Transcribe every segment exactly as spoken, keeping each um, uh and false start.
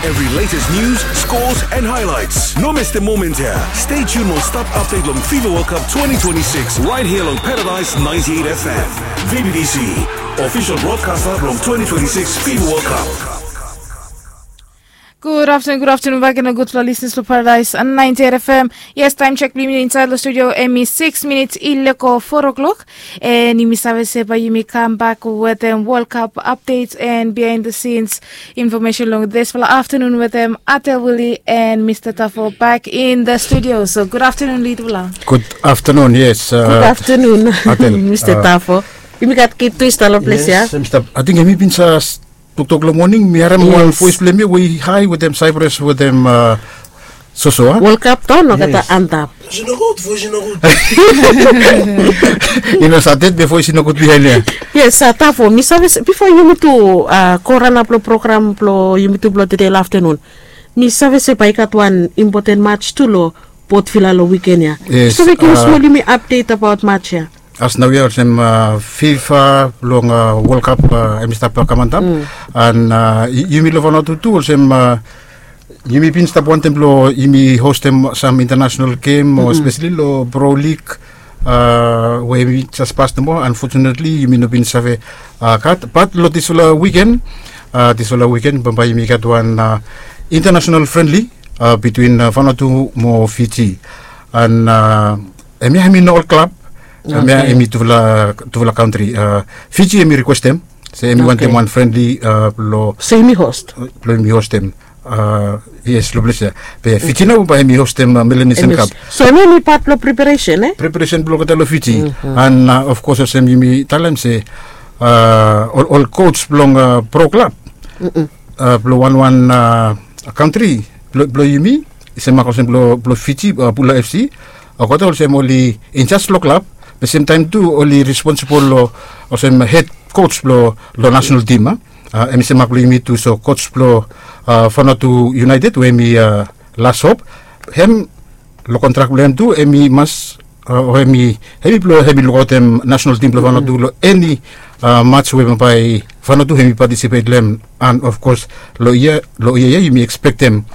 Every latest news, scores and highlights. No miss the moment here. Stay tuned mo stap update long FIFA World Cup twenty twenty-six right here long Paradise ninety-eight F M. V B B C, official broadcaster long twenty twenty-six FIFA World Cup. Gud aftenun, gud aftenun bak gen long gudfala listeners long Paradise ninety-eight F M. Yes, taem chek blong yumi insaed long studio hemi six minits i lego four o'clock. And yumi save se bae yumi kambak wetem World Cup updates and behind the scenes information long disfala aftenun wetem Atel Willie and Mister Tafo back in the studio. So gud aftenun, litfala. Gud aftenun, yes. Gud aftenun, Atel, Mister Tafo. Yumi gat kid tu i stap long ples ya. Ating hemi bin save toktok long moning, mi harem wan voes blong hem ya we i hae wetem Cyprus wetem Soso, a? World Cup tu nogeta antap. Voes i nogud, voes i nogud. I no save be voes i nogud bihaen ya. Yes, Tafo, mi save se bifo yumitu go ranap long program blong yumitu blong tede long aftenun, mi save se bae i gat wan impoten mats tu long Port Vila long wiken ya. Yes. Save givim smol yumi apdet abaot mats ya? As naoia olsem FIFA blong World Cup hemi stap kam antap. And yumi long Vanuatu tu olsem yumi bin stap wantem blong yumi hostem sam international gem o espeseli long Pro League we yumi jes pas nomo. Unfortunately yumi no bin save gat, bat long disfala wiken, disfala wiken bambae yumi gat wan international friendly between Vanuatu mo Fiji. And hemia hemi no ol klab. Hemia hemi tufala, tufala kantri. Fiji hemi rikwestem se hemi wantem wan friendly blong, se yumi hostem. Yes, long ples ya. Be Fiji nao bae hemi hostem Melanesian Cup. So hemia hemi pat blong preparation, e? Preparation blong olgeta long Fiji. And of course olsem yumi talem se ol, ol coach blong pro klab blong wanwan kantri blong yumi, i semak olsem blong Fiji, Bula F C, olgeta olsem oli injas long klab, be semtaem tu oli responsibol long olsem hed coach blong nasenal tim, a? Hemi semak blong yumi tu, so coach blong Vanuatu United we hemi Las Hope, hem long kontrak blong hem tu hemi mas o hemi, hemi blong hemi lukaotem nasenal tim blong Vanuatu long eni mats we bambae Vanuatu hemi patisipet long hem. And of course long yia, long yia ya yumi ekspektem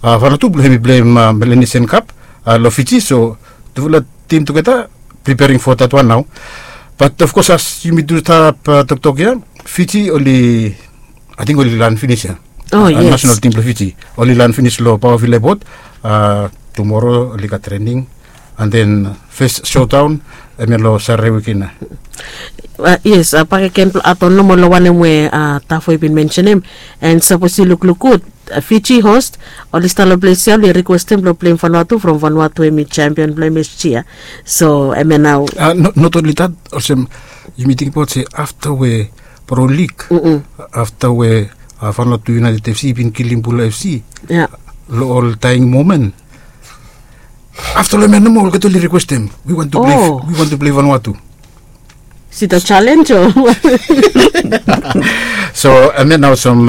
Vanuatu blong hemi pleim Melanesian Cup long Fiji. So tufala tim tugeta preparing for that one nao. Bat of course as yumi tu stap toktok ya, Fiji oli, ating oli lan finis ya. Nasenal tim blong Fiji oli lan finis long Paoa Vila Epot. Tumoro oli gat trening and then fes sodaon hemia long Satade wiken ya. Yes, bakegen blong adon nomo long wanem we Tafo i bin mensenem. And sapos yu lukluk gud, Fiji hos, oli stap long ples ya oli rikwestem blong pleim Vanuatu from Vanuatu hemi sempion blong hem last yia. So hemia nao. Not only that, olsem yumi tingbaot se afta we Pro League, afta we Vanuatu United F C i bin kilim Bula F C long ol daeng momen, afta long hemia nomo olgeta oli rikwestem, we want to play, we want to play Vanuatu. Si the challenge o. So hemia nao olsem,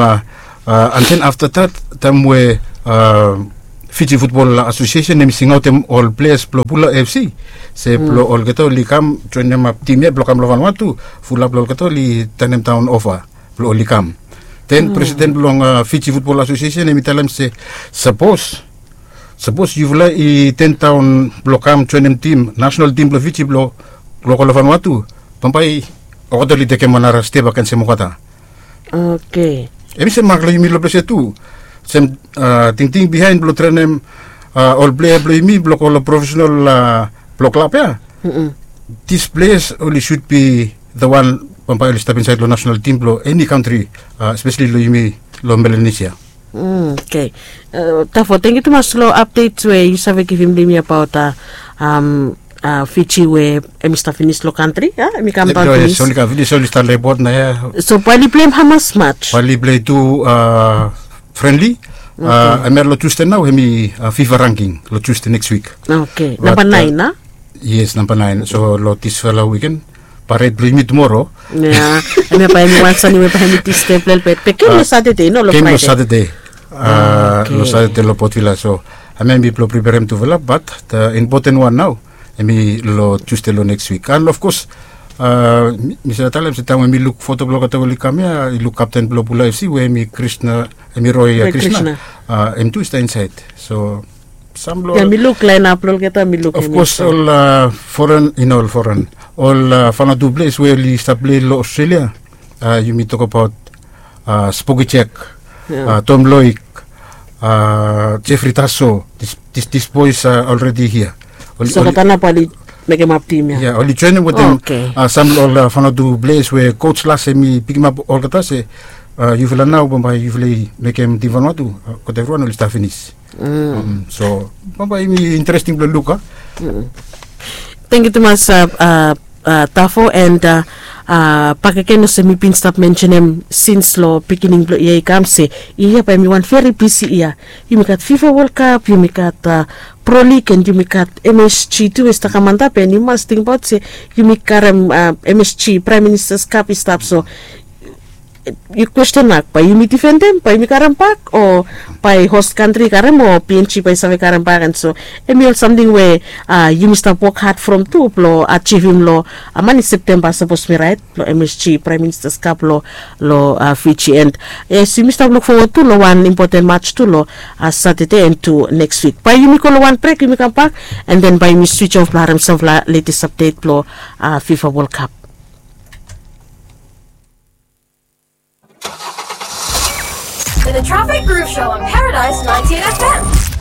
and then afta that taem we Fiji Football Association hemi singaotem ol pleas blong Bula F C se blong olgeta oli kam joenemap tim ya blong kam long Vanuatu, fulap long olgeta oli tanemdaon ofa blong oli kam. Then presiden blong Fiji Football Association hemi talem se sapos, sapos yufala i tendaon blong kam joenem tim, nasenal tim blong Fiji blong go long Vanuatu, bambae olgeta oli tekem wan nara step agens hem olgeta. Okei. Hemi semak long yumi long ples ya tu. Sem tingting bihaen blong trenem ol plea blong yumi blong go long profesenal blong klab ya. These players oli should be the one bambae oli stap insaed long nasenal tim blong eni kantri, espeseli long yumi long Melanesia. Okei. Tafo, tangkiu tumas long apdets we yu save givim long yumi abaot Fiji we hemi stap finis long kantri, a? Hemi kam daon finis. Oli kam finis, oli stap long epot nao ya. So bae oli pleim hamas mats? Bae oli plei tu friendly. Hemia long Tusde nao, hemi FIFA ranking long Tusde next week. Okei. Namba naen, a? Yes, namba naen. So long disfala wiken, pared blong yumi tumoro. Ya. Hemia bae hemi wan sani we bae hemi distab lelebet. Be gem long Satade, no long Fraede? Gem long Satade. Long Satade long Port Vila. So hemia hemi blong preperem tufala, bat the important one nao hemi long Tusde long next week. And of course Mi save talem se taem we mi luk foto blong olgeta we oli kam ya, i luk kapten blong Bula FC we em i Krishna, em i Roy Krishna. Em tu i stap insaed. So sam blong ya mi luk laenap blong olgeta, mi luk of kos ol foren, i no ol foren, ol fan o tu ples we oli stap plei long Australia. Yumi tokabaot Spoki Jack, Tom Loik, Jeffrey Taso, dis bois alredi hia. Olgeta nao bae oli mekemap tim ya. Ya, oli joenem wetem sam long ol fan o tu ples we kos las em i pikimap olgeta se yufala nao bambae yufala i mekem tim Vanuatu. Olgeta evriwan oli stap finis. So bambae yumi interesting blong luk a. Tangkiu tumas. Tafo and bakegen olsem mi bin stap mensenem sins long pikinini blong yia i kam se yia bae em i wan veri bisi yia. Yumi gat fifa wol kap, yumi gat prolik and yumi gat msg tu we i stap kam antap and yu mas tingbaot se yumi karem msg praem ministas kap i stap so yu kwesten mak bae yumi difendem bae yumi karem bak o bae host kantri i karem o png bae i save karem bak and so em i ol samting we yumi stap wok had from tu blong ajivim long mani septemba sapos mi raet long msg praem ministas kap long long fiji and yes yumi stap luk fowod tu long wan impoten mats tu long satade and tu neks wik bae yumi go long wan brek yumi kambak and then bae yumi switch of blong harem samfala letes apdet blong fifa wol kap. The Traffic Groove Show on Paradise ninety-eight F M.